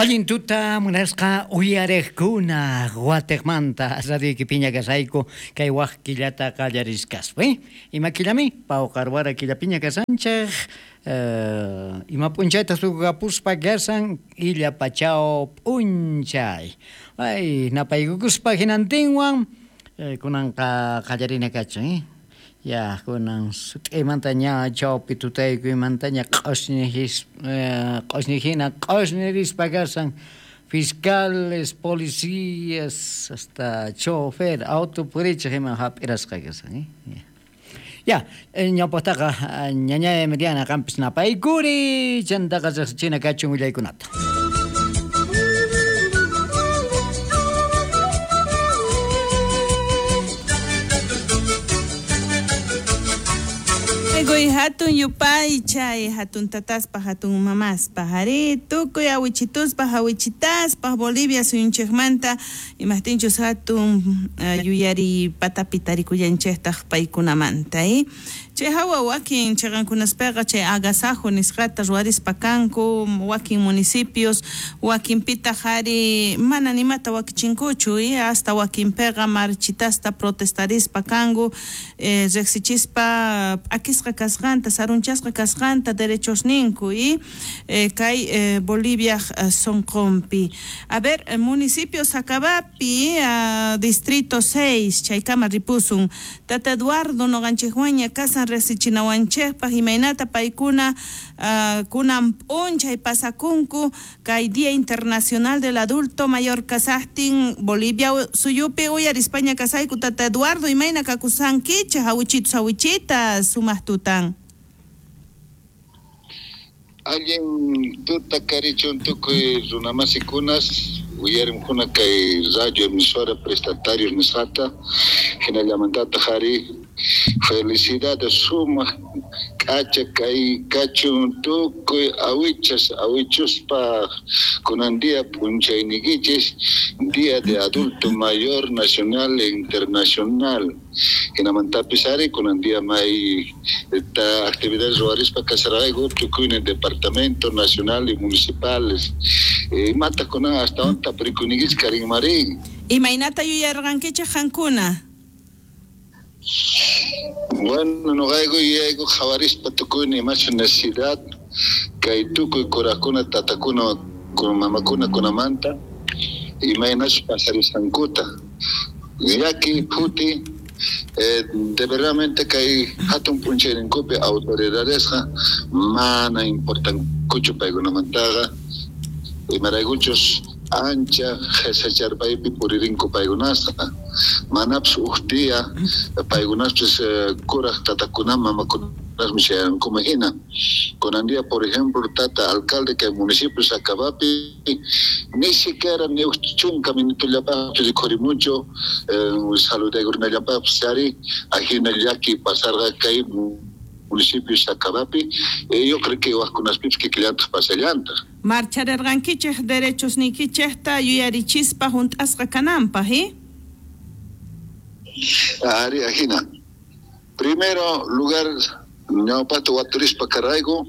Allin tuta munasqa uyariqkuna Guatemanta radioykipiña kasayku kay wak killata qallariskaspa ima killami pawqarwara killapiña kasanchik ima p'unchaytaq tukukapuspa kasan illa pachao p'unchay ay napaykukuspa hinantinwan kunanqa qallarina kachun ya kunan sut'iymanta ña chawpi tutaykuymantaña q'osñi hina q'osñirispa kasan fiscales, policías, hasta chofer, auto purichiq ima hap'irasqa kasan. Ya, ñawpaqtaqa ñañay Emiliana qampis napaykuri, chantaqa riqsichina kachun willaykunata. Tukuy hatun yupaychay, hatun tataspaj, hatun mamaspaj, arí, tukuy awichituspaj, awichitaspaj, Bolivia suyunchikmanta, imajtinchus hatun yuyari patapi tarikullanchiktaj paykunamanta, Chay hawa wakin chiqankunaspiqa chay agasajo nisqata ruwarispa kanku, wakin municipios, wakinpitaq ari mana nimata wakichinkuchu, hasta wakinpiqa marchitasta protestarispa kanku, riqsichispa p'akisqa kasqanta, sarunchasqa kasqanta derechosninku kay Boliviaj sonqonpi. A ver, municipio Sacabapi, distrito 6, chaykama ripusun. Tata Eduardo noqanchikwanña kasan riqsichinawanchikpaq imaynata paykuna kunan p'unchay pasakunku kay Día Internacional del Adulto Mayor kasaqtin Bolivia suyupi uyarispaña kasayku. Tata Eduardo, imayna kakusankichik awichitus awichitas sumaq tutan. Allin tuta karichun tukuy runamasikunas uyarimkuna kay radio emisora prestatarios nisqata hinallamantataq ari felicidades sumaq k'acha kay kachun tukuy awichas awichuspaq kunan día p'unchayniykichis Día de Adulto Mayor Nacional e Internacional hinamantapis ari kunan día may actividades ruwarispa kasarqayku tukuynin departamento nacional y municipales imata kunan astawan tapurikunikichik karinmarin. Imaynata yuyarqankichik qankuna? Bueno, noqayku yuyayku qhawarispa tukuynin imachu necesidad kay tukuy kurakuna tatakuna mamakuna kunamanta imaynachu pasarisqankuta llaki phuti de verdaderamente kay hatun p'unchayninkupi autoridadesqa mana importankuchu paykunamantaqa imaraykuchus ancha qhesacharpaypi puririnku paykunasqa manapis uj día paykunaspis kuraq tatakuna mamakunasmi chayankuman hina kunan día por ejemplo tata alcalde kay municipio Sacabapi ni siquiera ni uj chunka minutollapaqpis rikhurimunchu saludaykunallapaqpis ari ajina llaki pasarqa kay municipio Sacabapi yo creo que wajkunaspipis kikillantaq pasallantaq. Marcharerqankichik derechos niykichikta yuyarichispa hunt'asqa kananpaq, Ari ajina. Primero lugar ñawpaqta waturispa karayku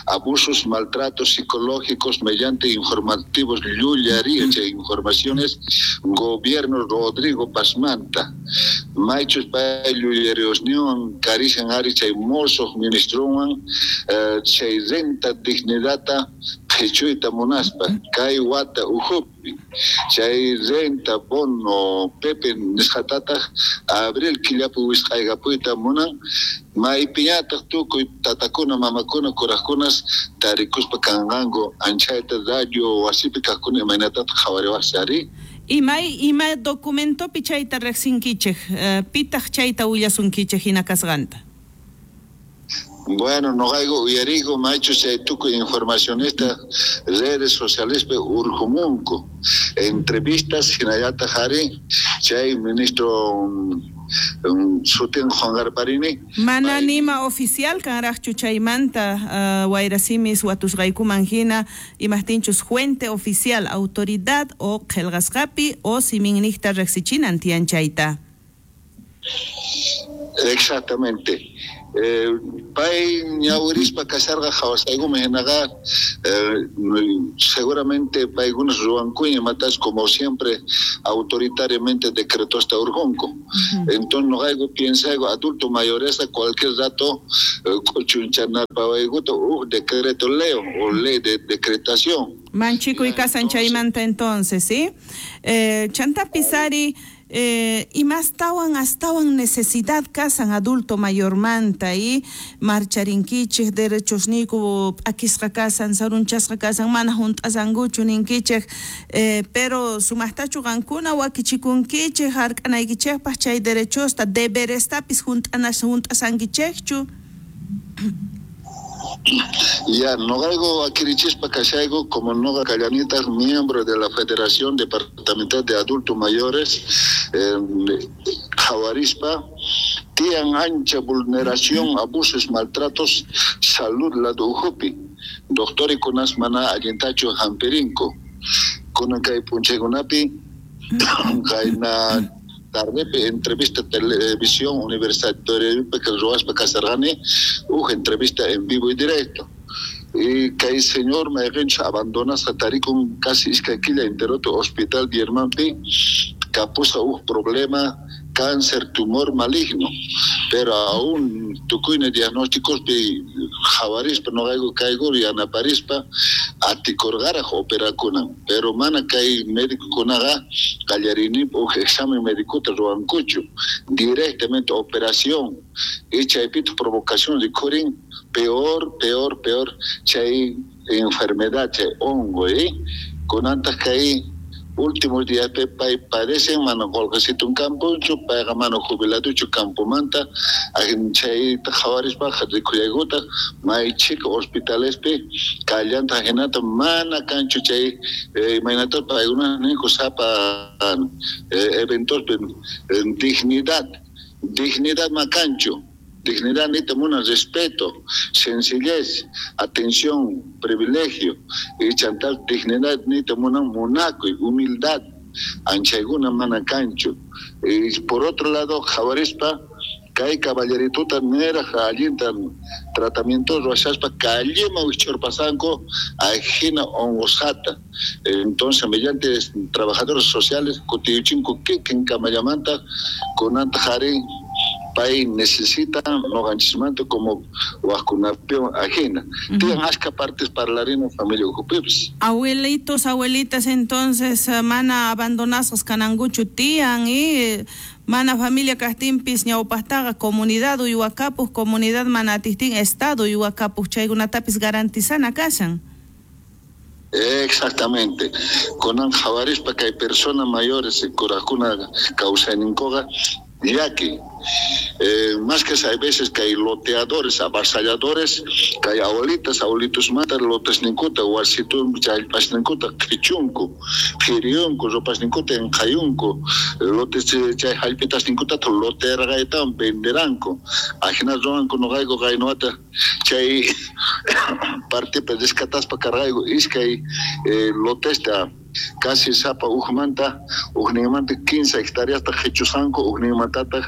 abusos, maltratos psicológicos mediante informativos llullaría chay informaciones gobierno Rodrigo Pazmanta maychus pay llullariosniwan karishan ari chay mosoq ministrowan chay renta dignidadta qhichuyta munaspa kay wata ukhupi chay renta bono Pepe nisqatataq abril killapi wisq'aykapuyta munan maypiñataq tukuy tatakuna mamakuna kuraqkunas tarikuspa kanqanku anchayta radio wasipi kaqkuna imaynatataq qhawariwaqsi ari. Ima documentopi chayta riqsinkichik pitaq chayta willasunkichik hina kasqanta? Bueno, noqayku uyariyku maychus chay tukuy informacionesta redes socialespi urqumunku entrevistas hinallataq ari chay ministro sutin Juan Garparini. Mana nima oficial kanraqchu chaymanta wayrasimis watusqaykuman hina imaqtinchus fuente oficial autoridad o qillqasqapi o siminniqta riqsichinan tiyan chayta. Exactamente. Pay ñawirispa kasharqa qhawasqaykuma hinaqa seguramente paykunas ruwankuña imatas como siempre autoritariamente decretosta urqunku. Entonces noqayku piensayku adulto mayoresta cualquier rato k'uchunchanarpawaykuta uj decreto leo o ley de decretación. Manchikuy kasan chaymanta entonces, ¿sí? Chantapis ari imastawan astawan necesidad kasan adulto mayormanta y marcharinkichej derechosniyku p'akisqa kasan sarunchasqa kasan mana junt'asankuchu ninkichej pero sumaqtachu qankuna wakichikunkichej hark'anaykichejpaq chay derechosta deberestapis junt'asankichejchu. Ya, noqayku wakirichispa kashayku como noqa kallanitaj miembro de la Federación Departamental de Adultos Mayores qhawarispa tiyan ancha vulneración, abusos, maltratos, salud lado ukhupi. Doctorikunas mana allintachu hampirinku. Kunan kay p'unchaykunapi kayna tardepi entrevista televisión universitaria que ruwaspa kasarqani uj entrevista en vivo y directo. Y kay señor mayqinchus abandonasqa tarikun casi iskay killa enteroto hospital Biermanpi kapusqa uj problema cáncer tumor maligno, pero aún tukuyna diagnósticospi qhawarispa noqayku kayku yanaparispa atikurqaraj operakunan, pero mana kay médicokunaqa qallarinipaq uj examen médicota ruwankuchu, directamente operación y chaypitaq provocación rikhurin peor, peor, peor chay enfermedad, chay hongo, kunantaq kay últimos días pay padecen mana qolqesitun kampunchu, payqa mana jubiladuchu campomanta, chayta qhawarispa rikhullaykutaq may chhika hospitalespi kallanta hinata mana kanchu chay imaynata paykuna ninku sapa eventospi dignidad, dignidad ma kanchu. Dignidad nita muna respeto, sencillez, atención, privilegio, y chantal dignidad nita muna munaco y humildad, anchayguna mana cancho. Y por otro lado, qhawarispa, kay caballerituta neraj allinta tratamiento ruwashaspa kallima wich'urpasanku ajina onqosqata. Entonces, mediante trabajadores sociales kutiyuchinku kikin kamallamanta kunanta qhari pay necesita noqanchismanta como wajkunapiwan ajina. Tiyan ashka partes parlarina familia ukhupipis. Abuelitos, abuelitas entonces mana abandonasqas kanankuchu tiyan y mana familia kaqtinpis ñawpaqtaqa comunidad uywakapuq, comunidad mana atiqtin estado uywakapuq, chaykunatapis garantizana kashan. Exactamente. Kunan qhawarispa kay persona mayores kurajkuna kawsayninkuqa llaki. Más que hay veces que hay loteadores, avasalladores, que hay abuelitas, abuelitos matan lotes ninkuta, wasitun, challpas ninkuta, qichunku, qiriyunku, ropas ninkuta, enqayunku, lotes chay jallpitas ninkuta, lotearqaytawan venderanku. Ajina ruwanku noqayku qaynuwata chay partipi rescataspa karqayku iskay lotesta casi sapa ujmanta, ujninmanta 15 hectáreas qichusqanku, ujninmantataq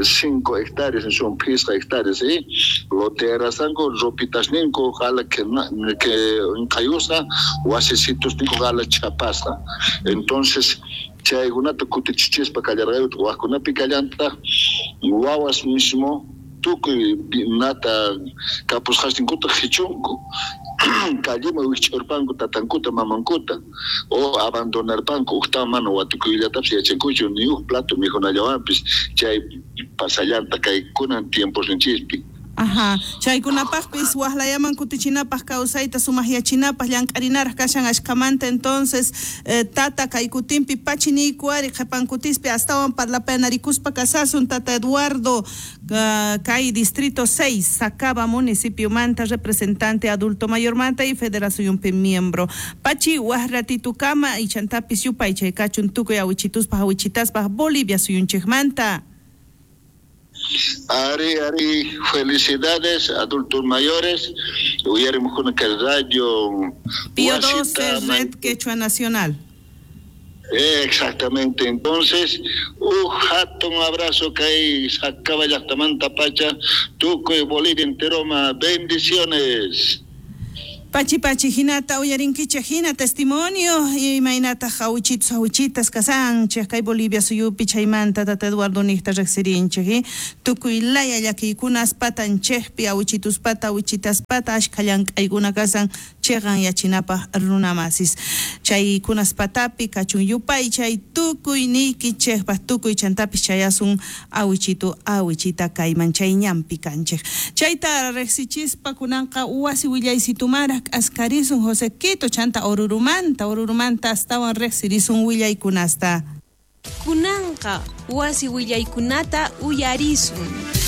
5 hectáreas, son 5 hectáreas, ¿sí? Lotearasqanku, ropitasninku, qala que nqayusqa, wasisitosninku qala chapasqa. Entonces, chaykunata kutichichispa kallarqayku, wajkunapi kallantaq, wawas mismo tukuy nata kapusqasninkuta qichunku. Kallima wich'urpanku tatankuta mamankuta o abandonarpanku uqtawan mana watukuyllatapis yachankuchu ni uj plato mikhunallawanpis chay pasallanta kay kunan tiemposninchispi. Ajá, chaykunapaqpis waqlayaman kutichinapaq kawsayta sumaqyachinapaq llank'arinaraq kashan ashkamanta entonces tata kay kutinpi pachiniyku ari qhipankutispi astawan parlapayanarikuspa kasasun tata Eduardo kay distrito 6 Sacaba municipiomanta representante adulto mayormanta y federacionpi miembro. Pachi waqratitukama y chantapis yupaychay kachun tukuy awichituspaq awichitaspaq Bolivia suyunchikmanta. Ari, ari, felicidades, adultos mayores. Uyarimuj que radio Pío 12, Red Quechua Nacional. Exactamente. Entonces, uj hatun abrazo kay Sacaba llaqtamanta pacha, tukuy Bolivia enteroma. Bendiciones. Pachi pachi hinata uyarinkichej hina testimonio imaynataq awichitus awichitas kasanchej kay Bolivia suyupi chaymanta tata Eduardo niqta riqsirinchej tukuy laya llakiykunas patanchejpi awichituspata awichitaspata ashkha llank'aykuna kasan cheqanyachinapaq runamasis chaykunas patapi kachun yupaychay tukuy niykichejpaq tukuy chantapis chayasun awichitu awichita kayman chay ñanpi kanchej chayta riqsichispa kunanqa wasi willaysitumanraq k'askarisun José Quito chanta Orurumanta Orurumanta astawan riqsirisun willaykunasta. Kunanqa wasi willaykunata uyarisun.